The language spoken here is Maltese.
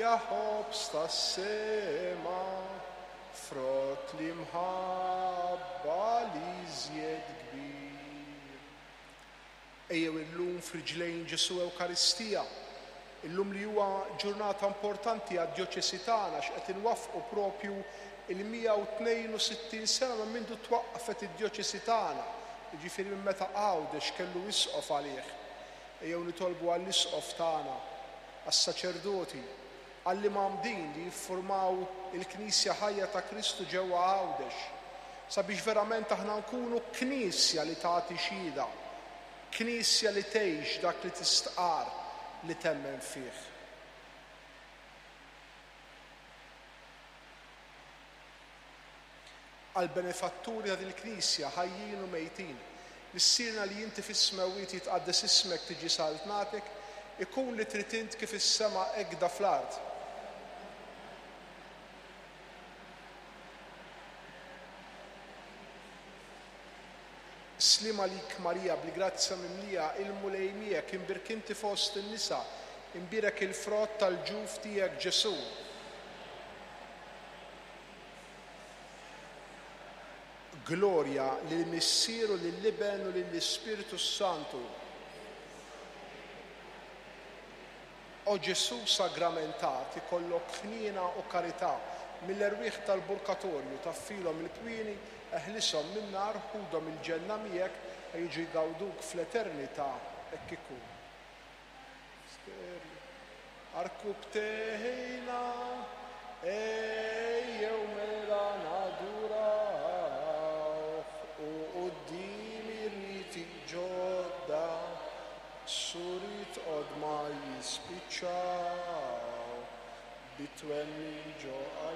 Ja ħobż tas-sema, frott l-imħabba l-iżjed kbir. Ejjew illum f'riġlejn Ġesù Ewkaristija, illum li huwa ġurnata importanti għad-djoċesi tagħna għax qed inwaffqu propju il-162 sena minn mindu twaqqfet id-djoċesi tagħna, jiġifieri minn meta Għawdex kellu isqof għalih. Ejjew nitolbu għall-Isqof tagħna, għas-saċerdoti, għall-imgħammdin li jiffurmaw il-Knisja ħajja ta' Kristu ġewwa Għawdex, sabiex verament aħna nkunu Knisja li tagħti xhieda, Knisja li tgħix dak li tistqarr li temmen fih. Għall-benefatturi ta' din il-Knisja, ħajjin u mejtin. Missierna li inti fis-smewwiet jitqaddes ismek tiġi saltnatek, ikun li trid int kif is-sema hekda fl-art. Sliem għalik Marija bil-grazzja mimlija, il-Mulej miegħek, imbierk inti fost in-nisa, imbierek il-frott tal-ġuf tiegħek Ġesù. Glorja lill-Missier u lill-Iben u lill-Ispirtu s-Santu. O Ġesù sagramentat, ikollok ħniena u karità mill-erwieħ tal-purgatorju, taffilhom il-kwieni, eħlishom min-nar, ħudhom il-ġenna miegħek, ħa jiġu jgawduk fl-eternità. Hekk ikun. Arkubtejna, ejjew mela nadurawh, u quddiem ir-riti ġodda, suriet qodma jispiċċaw, bit-twemmin ġo qalbna.